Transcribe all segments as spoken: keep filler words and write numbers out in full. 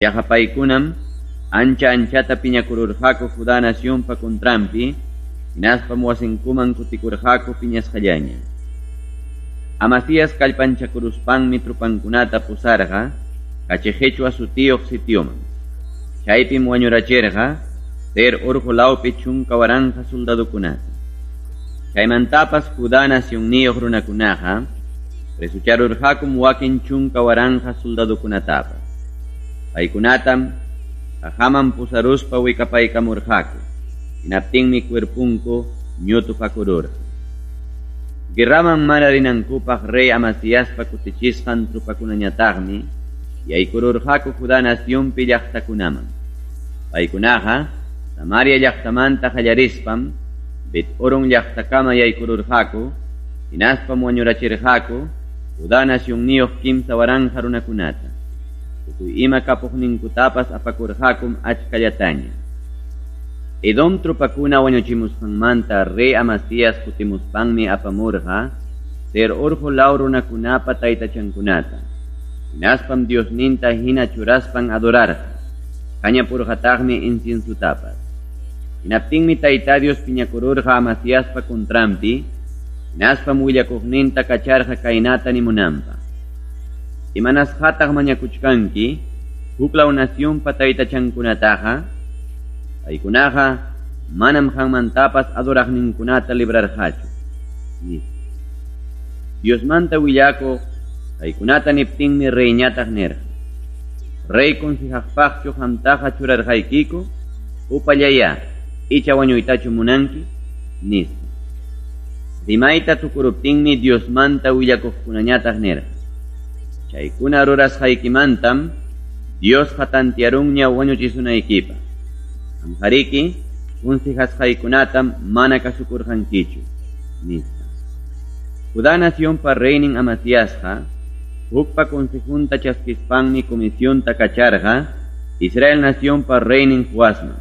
Yaqa paykunam ancha anchata piñakururqaku Judá nacionpa contranpi, hinaspam wasinkuman kutikurqaku piñasqallaña. Amasías kallpanchakuruspanmi tropankunata pusarqa Kachiqechwa sutiyuq sitioman. Chaypim wañurachirqa Seir urqu lawpi chunka waranqa soldadokunata. Chaymantapas Judá nacionniyuq runakunaqa presucharurqakum wakin chunka waranqa soldadokunatapas. Paykunatam qaqaman pusaruspa wikapaykamurqaku. Hinaptinmi cuerpunku ñutupakururqa. Guerraman mana rinankupaq rey Amasiaspa kutichisqan tropakunañataqmi yaykururqaku Judá nacionpi llaqtakunaman. Paykunaqa Samaria llaqtamanta qallarispam Bet-Horon llaqtakama yaykururqaku, hinaspam wañurachirqaku Judá nacionniyuq kimsa waranqa runakunata. Tukuy ima kapuqninkutapas apakurqakum achkallataña. Edom tropakuna wañuchimusqanmanta rey Amasías kutimuspanmi apamurqa Seir urqu law runakunapa taytachankunata. Hinaspam Diosninta hina churaspan adorarqa. Kañapurqataqmi inciensutapas. Hinaptinmi Tayta Dios piñakururqa Amasiaspa contranpi, hinaspam willakuqninta kacharqa kaynata nimunanpaq. Imanasqataq mañakuchkanki huklaw nacionpa taytachankunataqa, paykunaqa manam qanmantapas adoraqninkunata librarqachu, nispa. Diosmanta willakuq paykunata niptinmi reyñataq nirqa: Rey consejaqpaqchu qamtaqa churarqaykiku, upallaya, icha wañuytachu munanki, nispa. Rimayta tukuruptinmi Diosmanta willakuqkunañataq nirqa: Chaykuna rurasqaykimantam Diosqa tantiarunña wañuchisunaykipaq. Qamqariki consejasqaykunatam mana kasukurqankichu, nispa. Judá nacionpa reynin Amasiasqa hukpa consejunta chaskispanmi comisionta kacharqa Israel nacionpa reynin Joasman.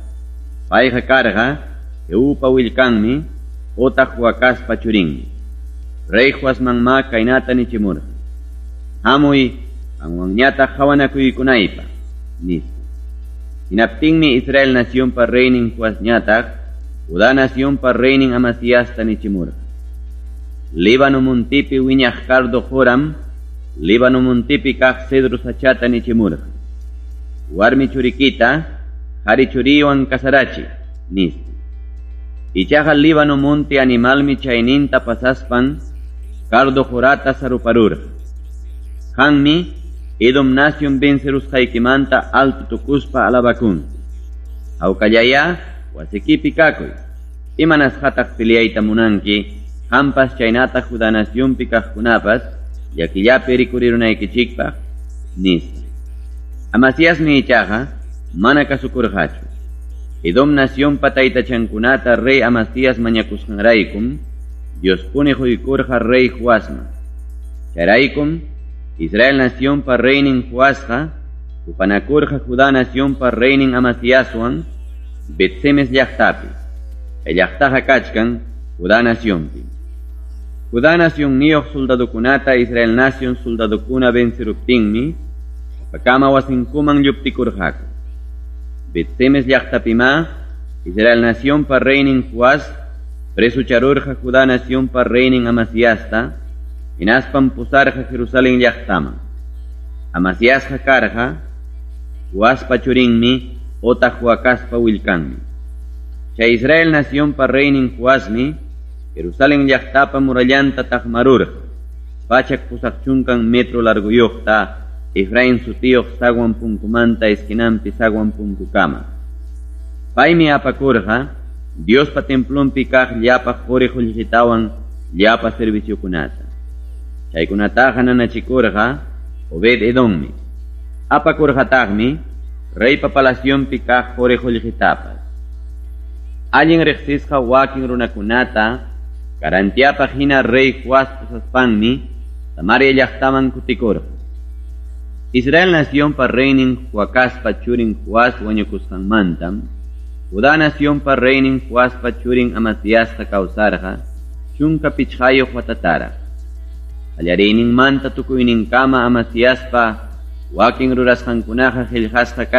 Payqa karqa Jehupa willkanmi otaq Joacazpa churinmi. Rey Joasmanma kaynata nichimurqa: Hamuy qanwanñataq qawanakuykunaypaq, nispa. Hinaptinmi Israel nacionpa reynin Joasñataq Judá nacionpa reynin Amasiasta nichimurqa: Líbano montipi wiñaq cardo qoram Líbano montipi kaq cedro sachata nichimurqa: Warmi churikita qari churiwan kasarachi, nispa. Ichaqa Líbano monte animalmi chayninta pasaspan cardo qorata saruparurqa. Qanmi Edom nacion vencerusqaykimanta alto tukuspa alabakunki. Hawkallaya wasikipi kakuy. Imanasqataq peleayta munanki, qampas chaynataq Judá nacionpi kaqkunapas llakillapi rikurirunaykichikpaq, nispa. Amasiasmi ichaqa mana kasukurqachu. Edom nacionpa taytachankunata rey Amasías mañakusqanraykum Diospuni quykurqa rey Joasman. Chayraykum Israel nacionpa reynin Joasqa tupanakurqa Judá nacionpa reynin Amasiaswan Bet-semes llaqtapi. Chay llaqtaqa kachkan Judá nacionpi. Judá nacionniyuq soldadokunata Israel nacion soldadokuna venceruptinmi sapakama wasinkuman lluptikurqaku. Bet-semes llaqtapima Israel nacionpa reynin Joas presucharurqa Judá nacionpa reynin Amasiasta, hinaspam pusarqa Jerusalén llaqtaman. Amasiasqa karqa Joaspa churinmi otaq Joacazpa willkanmi. Chay Israel nacionpa reynin Joasmi Jerusalén llaqtapa murallanta taqmarurqa pachak pusaq chunkan metro larguyuqta Efraín sutiyuq sagwan punkumanta esquinanpi sagwan punkukama. Paymi apakurqa Diospa templonpi kaq llapa quri qullqitawan llapa serviciokunata. Chaykunataqa nanachikurqa Obed Edommi. Apakurqataqmi reypa palacionpi kaq quri qullqitapas. Allin riqsisqa wakin runakunata garantiapaq hina rey Joas pusaspanmi Samaria llaqtaman kutikurqa. Israel nacionpa reynin Joacazpa churin Joas wañukusqanmantam Judá nacionpa reynin Joaspa churin Amasiasqa kawsarqa chunka pichqayuq watataraq. Qallariyninmanta tukuyninkama Amasiaspa Wakin rurasqankunaqa qillqasqa